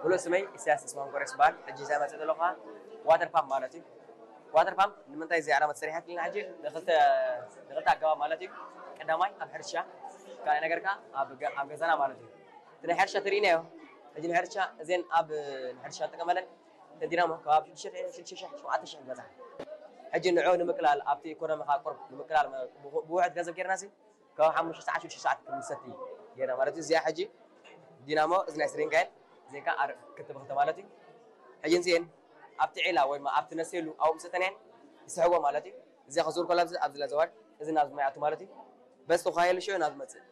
ሙሉእ ስመይ ኢሳያስ ተስፋሁን ኮረስ ይበሃል። ሕጂ እዛ መፅእ ዘለኹ ከዓ ዋተር ፓምፕ ማለት እዩ። ዋተር ፓምፕ ንምንታይ እዚኣ ዓላማ ተሰሪሓትልና? ሕጂ ንክልተ ንክልተ ኣገባብ ማለት እዩ። ቀዳማይ ኣብ ሕርሻ፣ ካልኣይ ነገር ከዓ ኣብ ገ- ኣብ ገዛና ማለት እዩ። እቲ ናይ ሕርሻ ትርኢናዮ። ሕጂ ናይ ሕርሻ እዚን ኣብ ናይ ሕርሻ ንጥቀመለን እተን ዲናሞ ከባቢ ሽዱሽተ ሽዱሽተ ሸሕን ሸውዓተ ሸሕን ዝበፅሓ። ሕጂ ንዑ ንምቅላል ኣብቲ ኢኮኖሚ ከዓ ቁርብ ንምቅላል ብውሕድ ገንዘብ ጌርና ሲ ካብ ሓሙሽተ ሰዓት ሽዱሽተ ሰዓት ክንሰቲ ጌርና ማለት እዩ። እዚኣ ሕጂ ዲናሞ እዚ ናይ ስሪንጋይን እዚን ከዓ ኣር ክልተ ብክልተ ማለት እዩ። ሕጂ እዚን ኣብቲ ዒላ ወይ ድማ ኣብቲ ነስየሉ ኣብኡ ምስ እተንየን ይስሕቦ ማለት እዩ። እዚኣ ከዙር ኮላ ኣብዚ ኣብዚ ለዘዋድ እዚ ናብዚ ማይ ኣቱ ማለት እዩ። በዚ ተኳየሉ ሽዑ ናብ ዝመፅእ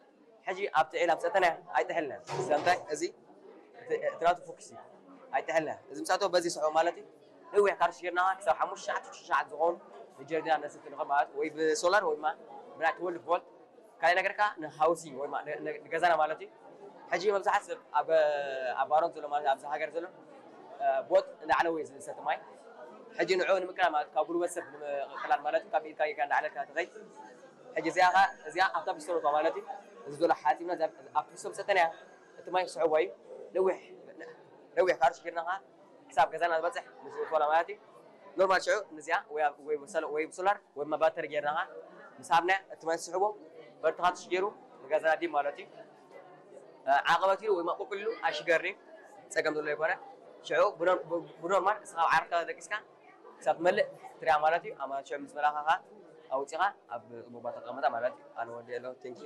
ሕጂ ኣብቲ ዒላ ምስ እተንያ ኣይጥሕልና። ስለምንታይ እዚ እቲ እቲ ናቱ ፎክስ እዩ። ኣይጥሕልና። እዚ ምስ ኣተወ በዚ ይስሕቦ ማለት እዩ። ነዊሕ ካርሽ ጌርና ክሳብ ሓሙሽተ ሰዓት ሽዱሽተ ሰዓት ዝኾኑ ንጀርዲና ነስቲ ንኽእል ማለት ወይ ብሶላር ወይ ድማ ብናይ ትወልቭ ቮልት ካልእ ነገር ከዓ ንሃውሲንግ ወይ ማ- ን- ን- ንገዛና ማለት እዩ። ሕጂ መብዛሕት ሰብ ኣብ ኣብ ባሮን ዘሎ ማለት ኣብዚ ሃገር ዘሎ ቦጥ እንዳዕለወ እዩ ዝሰቲ ማይ። ሕጂ ንዑ ንምቅላል ማለት ካብ ጉልበት ሰብ ንምቅላል ማለት ካብ ኢድካ ኢድካ እንዳዕለልካ ትኸይ። ሕጂ እዚኣ ኸ እዚኣ ኣብታ ፒስቶን ማለት እዩ። እዚ ዘሎ ሓፂብና እዚኣ ኣብቲ ፒስቶን ሰተናያ እቲ ማይ ክስሕቦ እዩ። ነዊሕ ነዊሕ ካርሽ ጌርና ኸዓ ክሳብ ገዛና ዝበፅሕ ምስ ቶላ ማለት እዩ። ኖርማል ሽዑ ንዚኣ ወይ ኣብ- ወይ ብሰሎ- ወይ ብሶላር ወይ ድማ ባተሪ ጌርና ኸዓ ምስ ሃብና እቲ ማይ ዝስሕቦ በርትኻ ትሽገሩ ንገዛና ዲብ ማለት እዩ። ዓቐበት ኢሉ ወይ ማቁቁ ኢሉ ኣይሽገርኒ ጸገም ዘሎ ይኮነ። ሽዑ ብኖር- ብ- ብኖርማል እስኻ ኣብ ዓረፍካ ደቂስካ ክሳብ ትመልእ ትሪኣ ማለት እዩ። ኣማት ሽዑ ምስ መላኻ ኸዓ ኣውፂኻ ኣብ ጽቡቅ ቦታ ተቐመጣ ማለት እዩ። ኣነ ወዲ የለኹ። ቴንኪ